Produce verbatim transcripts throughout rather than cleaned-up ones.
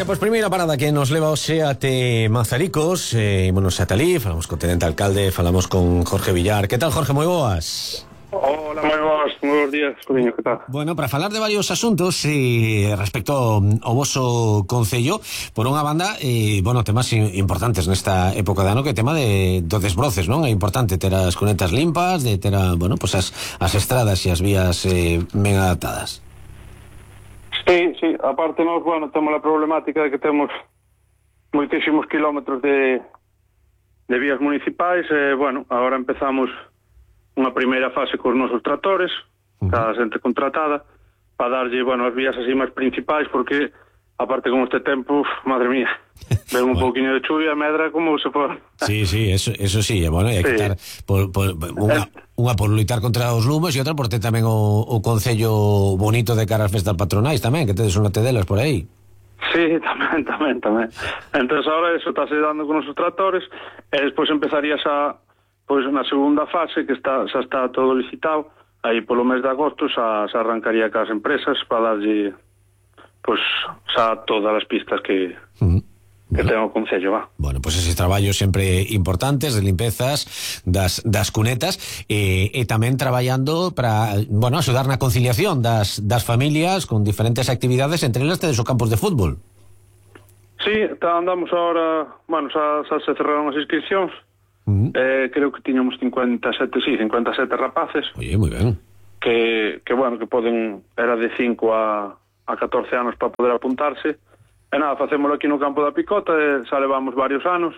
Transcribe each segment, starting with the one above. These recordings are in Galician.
Veña, pois primeira parada que nos leva hoxe até Mazaricos, eh, ímonos ata ali, falamos co tenente alcalde, falamos con Jorge Villar. Que tal, Jorge? Moi boas. Hola, moi boas, moi bons días, Codiño, que tal? Bueno, para falar de varios asuntos eh, respecto ao voso concello, por unha banda, eh, bueno, temas importantes nesta época de ano, que é tema de do desbroces, non? É importante ter as cunetas limpas, de ter a, bueno, pues as, as estradas e as vías eh, ben adaptadas. Sí, sí, aparte nós, bueno, temos a problemática de que temos moitísimos kilómetros de, de vías municipais e, bueno, agora empezamos unha primeira fase cos nosos tractores, uh-huh. cada xente contratada, para darlle, bueno, as vías así máis principais, porque, aparte con este tempo, uf, madre mía, ven un bueno. pouquinho de chuvia, medra, como se for. Sí, sí, eso, eso sí, bueno, hai que sí. estar por, por, unha, unha por luitar contra os lumes e outra por ter tamén o, o concello bonito de cara ás festas patronais tamén, que tedes unha tedelas por aí. Sí, tamén, tamén, tamén. Entón, agora eso está se dando con os tractores, e despois empezarías a, pois, na segunda fase, que está, xa está todo licitado, aí polo mes de agosto xa, xa arrancaría cas empresas para darlle, pois, xa todas as pistas que... Uh-huh. que ten o concello, va. Bueno, pois pues eses traballos sempre importantes de limpezas das, das cunetas e, e tamén traballando para, bueno, axudar na conciliación das, das familias con diferentes actividades, entre elas tedes o campos de fútbol. Sí, andamos ahora, bueno, xa, xa se cerraron as inscripcións, uh-huh. eh, creo que tiñamos cincuenta e sete, sí, cincuenta e sete rapaces. Oye, moi ben. Que, que bueno, que poden, era de cinco a, a catorce anos para poder apuntarse. E nada, facémolo aquí no campo da Picota, e xa levamos varios anos,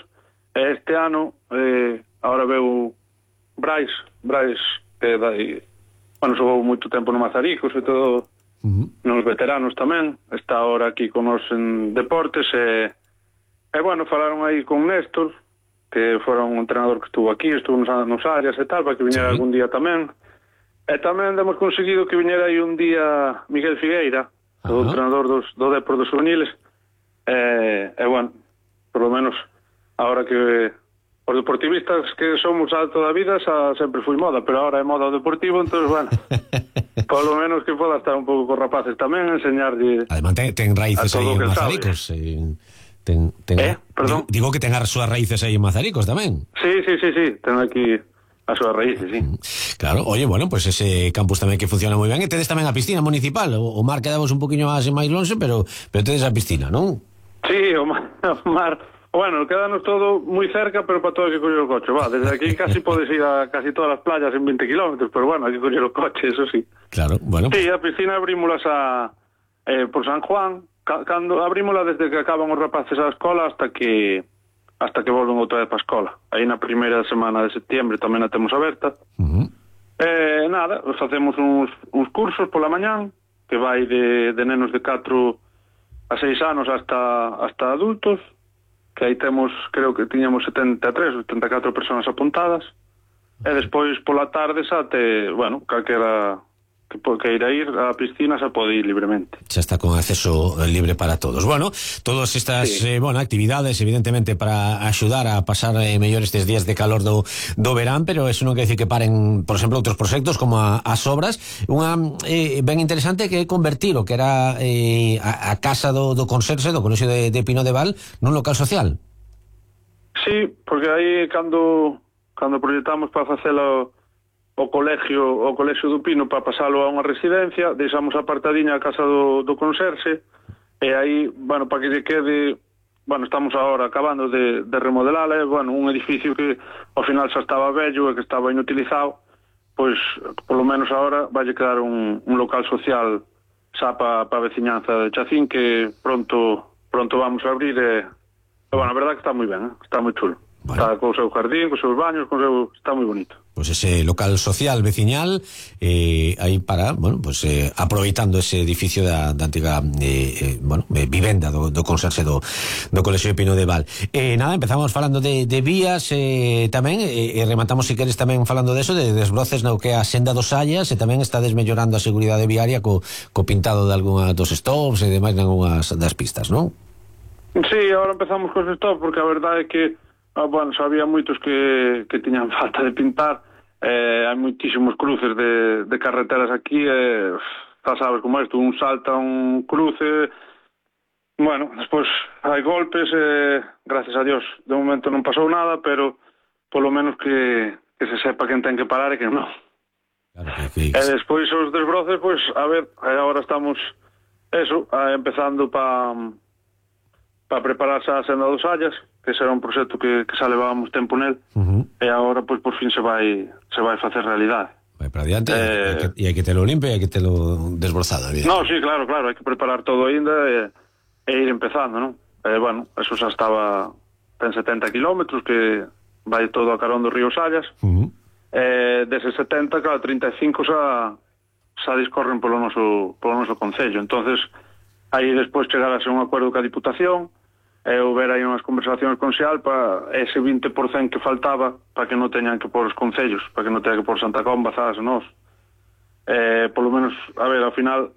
e este ano, eh, ahora veu Brais, Brais, que dai, bueno, xogou moito tempo no Mazaricos, e todo, uh-huh. nos veteranos tamén, está ahora aquí con nos en deportes, e, e bueno, falaron aí con Néstor, que fora un entrenador que estuvo aquí, estuvo nos, nos áreas e tal, para que viñera sí. algún día tamén, e tamén hemos conseguido que viñera aí un día Miguel Figueira, uh-huh. o entrenador dos, do Depor dos Juveniles. E, eh, bueno, por lo menos ahora que os deportivistas que somos alto da vida xa sempre fui moda, pero ahora é moda o deportivo, entonces bueno, por lo menos que poda estar un pouco con rapaces tamén, enseñarlle. Además ten, ten raíces aí en Mazaricos, eh, ten, ten, eh, perdón. Digo que ten as súas raíces aí en Mazaricos tamén. Sí, sí, sí, sí, ten aquí as súas raíces, sí. Claro, oye, bueno, pues ese campus tamén que funciona moi ben, e tedes tamén a piscina municipal, o, o mar quedamos un poquinho máis máis longe, pero pero tedes a piscina, non? Sí, o mar, o mar, bueno, quedanos todo moi cerca, pero para todo hai que coller o coche, va, desde aquí casi podes ir a casi todas as playas en veinte kilómetros, pero bueno, hai que coller o coche, eso sí. Claro, bueno. Sí, a piscina abrímolas a, eh, por San Juan, ca, cando abrímola desde que acaban os rapaces a escola hasta que hasta que volven outra vez para a escola. Aí na primeira semana de septiembre tamén a temos aberta. Uh-huh. Eh, nada, facemos uns, uns cursos pola mañán, que vai de, de nenos de catro a seis anos hasta hasta adultos, que aí temos, creo que tiñamos setenta e tres, setenta e catro personas apuntadas, e despois pola tarde xa te, bueno, calquera que queira ir á piscina xa pode ir libremente. Xa está con acceso libre para todos. Bueno, todas estas sí. eh, bueno, actividades, evidentemente, para axudar a pasar eh, mellor estes días de calor do, do verán, pero eso non quer dicir que paren, por exemplo, outros proxectos como a, as obras. Unha eh, ben interesante que é convertir o que era eh, a, a casa do, do conserxe do Colexio de, de Pino de Val nun local social. Sí, porque aí cando cando proyectamos para facelo o colegio o colegio do Pino para pasalo a unha residencia, deixamos apartadiña a casa do, do conserxe, e aí, bueno, para que lle quede, bueno, estamos agora acabando de, de remodelar, eh, bueno, un edificio que ao final xa estaba vello e que estaba inutilizado, pois, polo menos agora vai quedar un, un local social xa para pa a veciñanza de Chacín, que pronto pronto vamos a abrir, e, e bueno, a verdad que está moi ben, eh? Está moi chulo. Bueno. Está co seu jardín, co seus baños, co seu... está moi bonito. Pues ese local social veciñal eh, aí para, bueno, pues eh, aproveitando ese edificio da, da antiga eh, eh, bueno, eh, vivenda do, do conserxe do, do Colexio de Pino de Val. Eh, nada, empezamos falando de, de vías eh, tamén, e eh, rematamos si queres tamén falando de eso, de desbroces no que é a senda dos Sallas, e tamén está desmellorando a seguridade viaria co, co pintado de algunha dos stops e demais nalgunhas das pistas, non? Sí, agora empezamos cos stops, porque a verdade é que Ah, bueno, xa había moitos que, que tiñan falta de pintar, eh, hai moitísimos cruces de, de carreteras aquí, eh, xa sabes como isto, un salta un cruce, Bueno, despois hai golpes, eh, gracias a Dios, de momento non pasou nada, pero polo menos que, que se sepa quen ten que parar e quen non. Claro, que, que... E despois os desbroces, pois, a ver, agora estamos, eso, a, empezando pa, pa prepararse a senda dos Allas, que será un proxecto que, que xa levábamos tempo nel, uh-huh. E agora, pois, por fin se vai, se vai facer realidade. Vai para adiante, eh, e hai que telo limpo e hai que telo desbrozado. No, sí, claro, claro, hai que preparar todo aínda e, e ir empezando, non? E, bueno, eso xa estaba, ten setenta kilómetros, que vai todo a carón do río Sallas, uh-huh. E deses setenta, claro, trinta e cinco xa, xa discorren polo noso, polo noso concello, entonces aí despois chegar a ser un acordo ca Diputación, e houver aí unhas conversacións con Sealpa, ese vinte por cento que faltaba para que non teñan que pôr os concellos, para que non teñan que pôr Santa Comba, Zas e nós. Eh, polo menos, a ver, ao final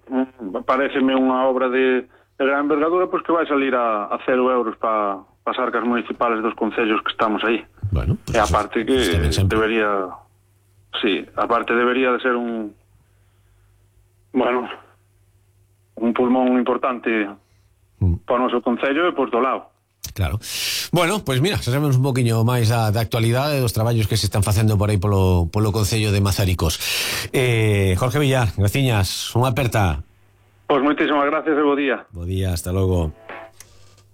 pareceme unha obra de, de gran envergadura, pois que vai salir a, a cero euros para pa as arcas municipales dos concellos que estamos aí. Bueno, pues e aparte que debería, sí, aparte debería de ser un, bueno, un pulmón importante para o noso concello e por do lado. Claro. Bueno, pois pues mira, xa sabemos un poquinho máis da, da actualidade dos traballos que se están facendo por aí polo, polo concello de Mazaricos. eh, Jorge Villar, graciñas, unha aperta. Pois pues moitísimas gracias e bo día. Bo día, hasta logo.